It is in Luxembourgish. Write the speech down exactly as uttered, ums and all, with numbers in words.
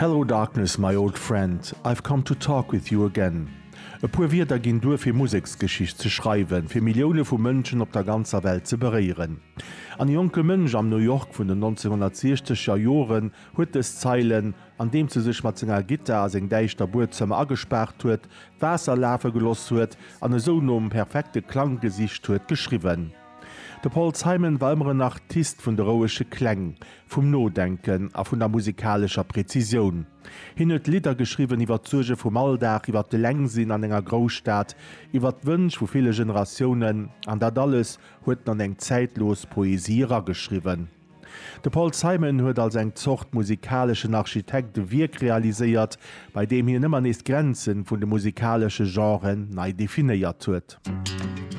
Hello darkness, my old friend, I've come to talk with you again. E puer Wierder ginn duer fir Museksgeschicht ze schreiwen, fir Millioune vu Mënschen op der ganzer Welt ze beréieren. An e jonke Mënsch am New York vun den nonzénhunnertsiechzeger Joren huet dës Zeilen, andeems e sech mat senger Gittar a seng däischter Buedzëmmer agespaart huet, d'Waasser lafe geloss huet an esou nom perfekte Klang gesicht huet, geschriwwen. De Paul Simon war ëmmer en Artist vun de rouege Kläng, vum Nodenken a vun der musikalescher Präzisioun. Hien huet Lidder geschriwwen iwwer d'Suerge vum Alldag, iwwer d'Elengsinn an enger Grousstad, iwwer d'Wënsch vu ville Generatiounen, an dat alles huet en an eng zäitlos Poesie erageschriwwen. De Paul Simon huet als eng Zort musikaleschen Architekt e Wierk realiséiert, bei deem hien ëmmer nees d'Grenze vun de musikalesche Genren nei definéiert huet.